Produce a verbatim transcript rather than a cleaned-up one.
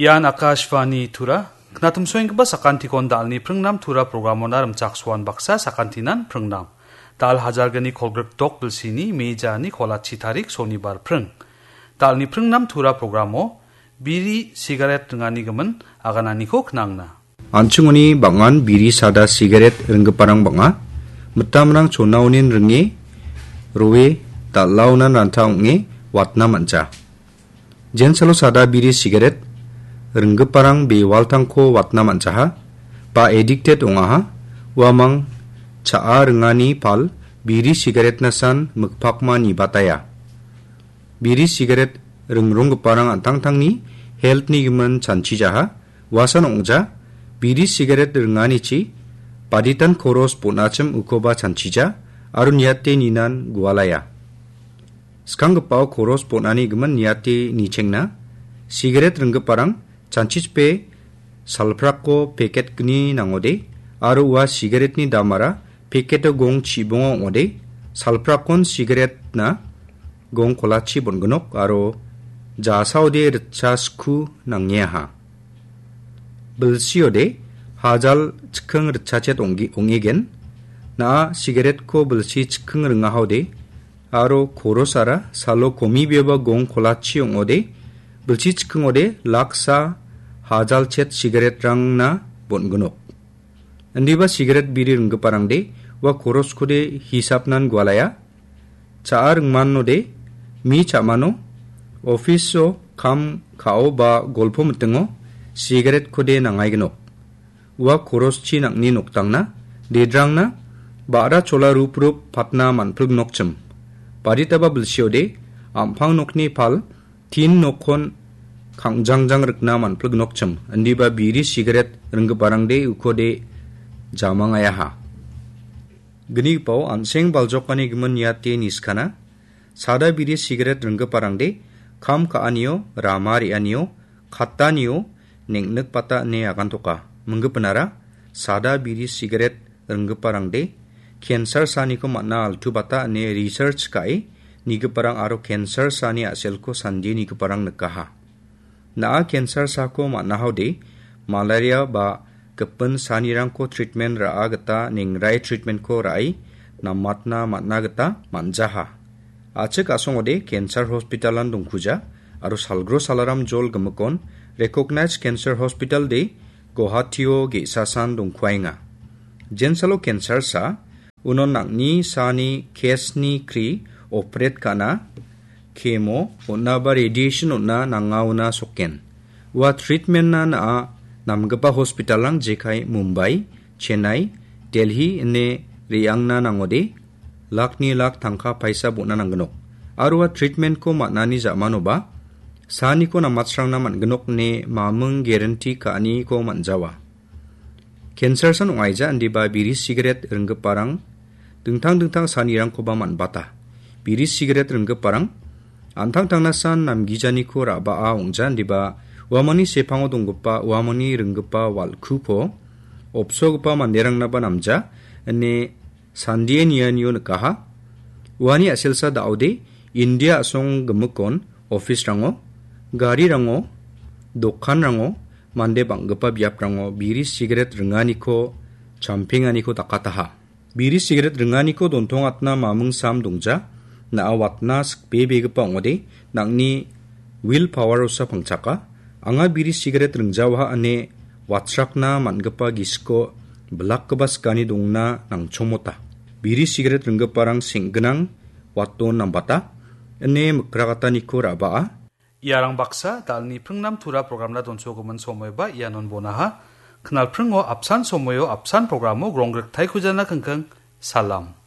Ian Akashvani Tura, knatumsoenggipa sakantikon dalni pringnam Tura programona rimchaksoan baksa sakantinan pringnam. Dal hajalgni kolgrikdok bilsini mejani kolachi tarik sonibar pring. Dalni pringnam Tura programo biri sigaret ringani gimin agananiko knangna. An·chingoni bang·an biri sada sigaret ringgiparang bang·a. Mitamrang chonaonin ringe, roe, dal·aonan ranta ong·e watna man·ja. Jensalo sada biri sigaret ringgiparang bewaltangko watna man·jaha, ba addicted ong·aha, uamang cha·a ringani pal biri sigaretnasan mikpakma nibataya. Biri sigaret ringronggiparang an·tangtangni health-ni gimin chanchijaha, uasan ong·ja, biri sigaret ringanichi baditan koros bon·achim ukoba chanchija aro niate ninan gualaya. Skanggipao koros bon·ani gimin niate nichengna, sigaret ringgiparang chanchichipe salprako peket gni nangode, aro ua sigaretni damara peketio gong chibonga ong·ode, salprakon sigaretna gong kolachi bon·gnok aro jasaode ritcha sku nangeaha. Bilsiode hajal chikking ritchachet ong·ge-, ong·egen. Na·a sigaretko bilsi chikking ringahaode aro korosara salo komi beba gong kolachi ong·ode, bilsi chikkingode laksa hajalchet sigaretrangna bon·gnok. Indiba sigaret biri ringgiparangde ua koroskode hisapnan gualaya. Cha·a ringmanode mi cha·mano, office-o kam ka·o ba golpo mitingo sigaretkode nangaignok. Ua koroschi nang·ni noktangna, dedrangna, ba·ra chola rup rup patna man·pilgnokchim. Baditaba bilsiode, am·pang nokni pal, tin nokkon kangjangjang rikna man·pilgnokchim. Indiba biri sigaret ringgiparangde ukode jamangayaha. Gnigipao an·seng baljokani gimin niate niskana. Sada biri sigaret ringgiparangde kam ka·anio, rama re·anio, kattanio, neng·nikbata ine agantoka. Minggipinara sada biri sigaret ringgiparangde cancer saniko man·a altu bata ine research ka·e nigiparang aro cancer sani a·selko sandie nigiparang nikaha. Na·a cancer sako man·ahaode malaria ba gipin sanirangko treatment ra·a gita nengrai treatmentko ra·e namatna man·a gita man·jaha. A·chik a·songode cancer hospitalan dongkuja aro salgro salaram jol gimikon recognized cancer hospital de Guwahatio ge·sasan dongkuaenga. Jensalo cancer sa, uno nang·ni sani case-ni kri operate ka·na, chemo on·a ba radiation on·a nangaona sokken. Ua treatment-na na·a namgipa hospital-rang jekai Mumbai, Chennai, Delhi ine re·angna nangode, lakni lak tangka paisa bon·a nanggnok. Aro ua treatment-ko man·ani ja·manoba, saniko namatsrangna man·gnok ine maming guarantee ka·aniko man·jawa. Cancer san ong·aija indiba biri sigaret ringgiparang dingtang dingtang sanirangkoba man·bata. Biri sigaret ringgiparang an·tangtangnasan namgijaniko ra·baa ong·ja indiba uamangni sepango donggipa uamangni ringgipa wal·kuko opsogipa manderangnaba namja ine sandie nianio nikaha. Uani a·selsa da·ode India a·song gimikon office-rango, garirango, dokanrango, mande bang·gipa biaprango biri sigaret ringaniko, champenganiko dakataha. Biri sigaret ringaniko dontongatna maming sam dongja, na·a watna sikbebegipa ong·ode, nang·ni will power-osa pangchaka. Anga biri sigaret ringjawaha ine watsrakna man·gipa gisiko bilakgipa sikani dongna nangchomota. Biri sigaret ringgiparang seng·gnang waton nambata, ine mikrakataniko ra·baa. Iarang baksa dalni pringnam tura programna donsogimin somoiba ianon bonaha. Knalpringo apsan somoio apsan programo gronggriktaikujana kingking. Salam.